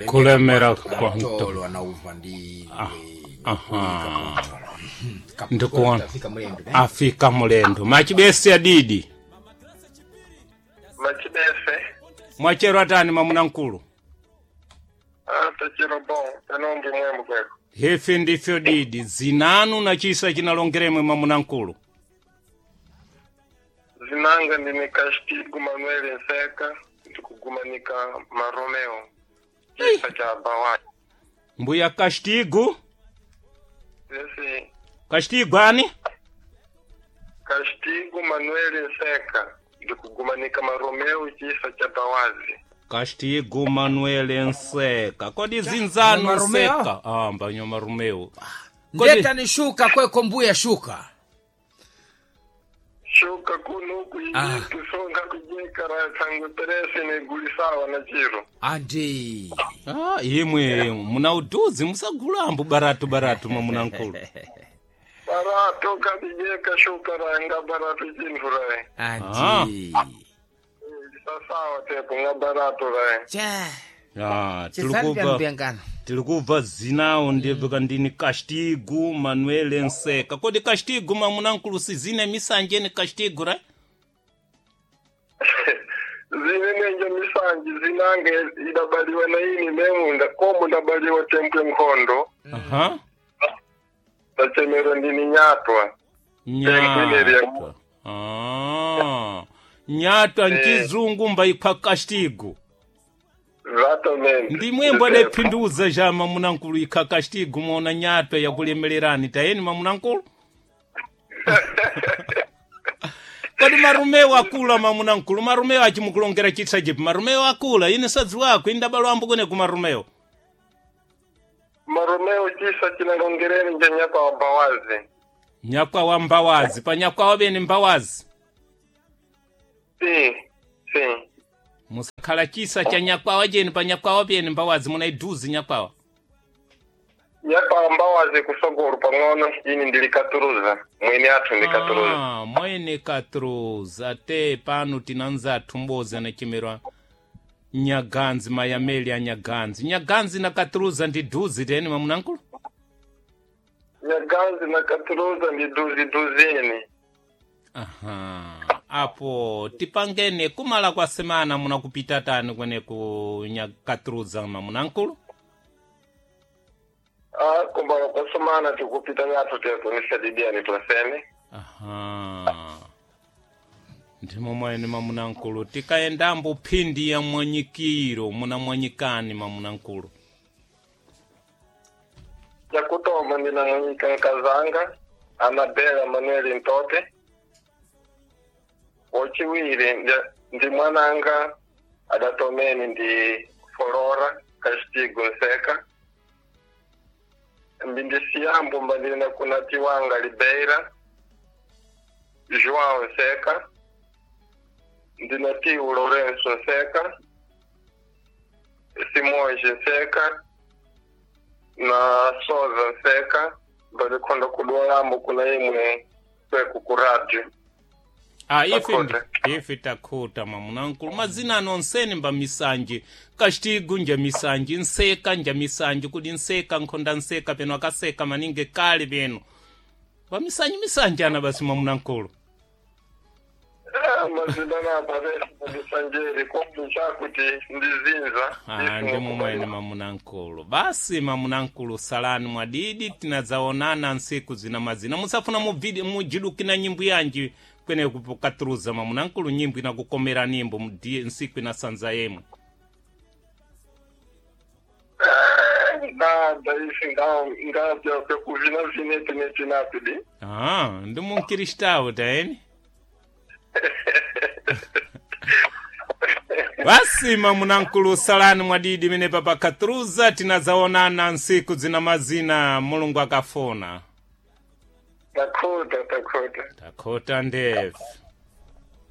Kulemera kwa mtolo anauva ndi Aha. Ndikuona Ndikuona. afika mulendo eh? Afika mulendo machibese adidi. Machibese. Mwachero atani mwamuna mkulu. Ah, tachero bon. Tanombi mwembo kweko. Hefe ndifyo didi zinanu na chisa chinalongeremwe mwamuna mkulu. Zinanga ndine Castigo Manuel Nseka ndikugumanika Maromeo. Chisa cha Bawai. Mbuya Castigo. Esse Castigo ani? Castigo Manuel Nseka ndikugumanika Maromeo chisa cha Bawazi. Castigo Manuel Nseka. Kodi zinzanu Maromeo? Nseka. Ah, mbanyo Maromeo. Kodi Ndeta ni shuka kweko mbuya shuka. Shuka kuno Ah. kuisonga kujekara tangu teresi nigulisawa na chiro. Andi. Ah, imwe muna uduzi musagulambo baratu baratu mwamuna mkulu. Barato kabijeka shuka ranga barato chinthu rae. Andi. Sasawa tepo nga barato rae. Cha. Ah, Chisani tilikubva mbiyangano. tilikubva zinawo ndebveka ndini Castigo Manuel Nseka. Kodi Castigo mwamuna mkulu sizine misanje ni Castigo ra? Zine nenje misanji zinange idabaliwa na ini memunda komu ndabaliwa tempwe nkhondo Aha. tachemero ndini nyatwa. Nyatwa. Ah. Nyatwa nchizungu mbaikwa Castigo. Exatamente. Ndimwembo adaphinduza ja mamunankulu ikha Castigo mona nyatwa yakulemererani tayeni mamunankulu. Kodi marumewo akula mamunankulu marumewo achimukulongera chitsa chipi marumewo akula ine sadzi wako indabalwambo kune kumarumewo. Maromeo chisa chinalongereni nje nyatwa wa Bawazi. Nyakwa wa mbawazi pa nyakwa wabene mbawazi. Sim, sim. Musakhala chisa cha nyakwawa jeni pa nyakwawa pene mbawazi munaiduzi nyakwawa. Nyatwa wa Mbawazi kusogolo pang'ono ini ndilikaturuza mwene athu ndikaturuza. Ah, mwene katruza te pano tinanza athumbozi anachemerwa nyaganzi mayameli a nyaganzi nyaganzi na katruza ndi duzi teni mamunankulu. Nyaganzi na katuruza ndi duzi duzini. Aha, apo tipangene kumala kwa semana munakupita tani kwene ku nyakatruza mamunankulu. Ah, kumbala kwasomana tikupita nyathu tepo nisadidiani twasene. Aha. Ndimo mwene mamunankulu tikaendambo phindi ya mwanyikiro muna mwanyikani mamunankulu. Yakutoma ndinamwanyika nkazanga Anabela Manuel Ntote. Wachiwiri ndi mwananga adatomeni ndi Flora Castigo Nseka. Mbindisiyambo mbandina kuna Tiwanga Libeira João Nseka. Ndina tiu Lourenço Nseka. Simões Nseka na Soza Nseka balikhonda kudwalambo kuna imwe kweku ku radio. Ah, ife Takhuta. ife takhuta mamunankulu mazina ano onsene mba misanje Castigo nja misanje Nseka nja misanje kudi Nseka nkhonda Nseka peno akaseka maningi kale peno mba misanje misanje ana basi mamunankulu. Eh, mazina napa ndisanjeri kombe chakuti ndizinza. Ah, ndimo mwene mamunankulu basi mamunankulu salani mwadidi tinadzaonana nsiku zina mazina musafuna muvidi mujidukina nyimbo yanji kwene kupokatruza mamunankulu nyimbo inakukomera nimbo mudi nsiku inasanza yemwe. Nada isi ngapya kuvina vineti netinapidi. Ah, ndi munkiristawo taeni. Basi mamunankulu salani mwadidi mene papa katruza tinadzaonana nsiku zina mazina mulungu akafuna. Takhuta takhuta. Takhota ndefu.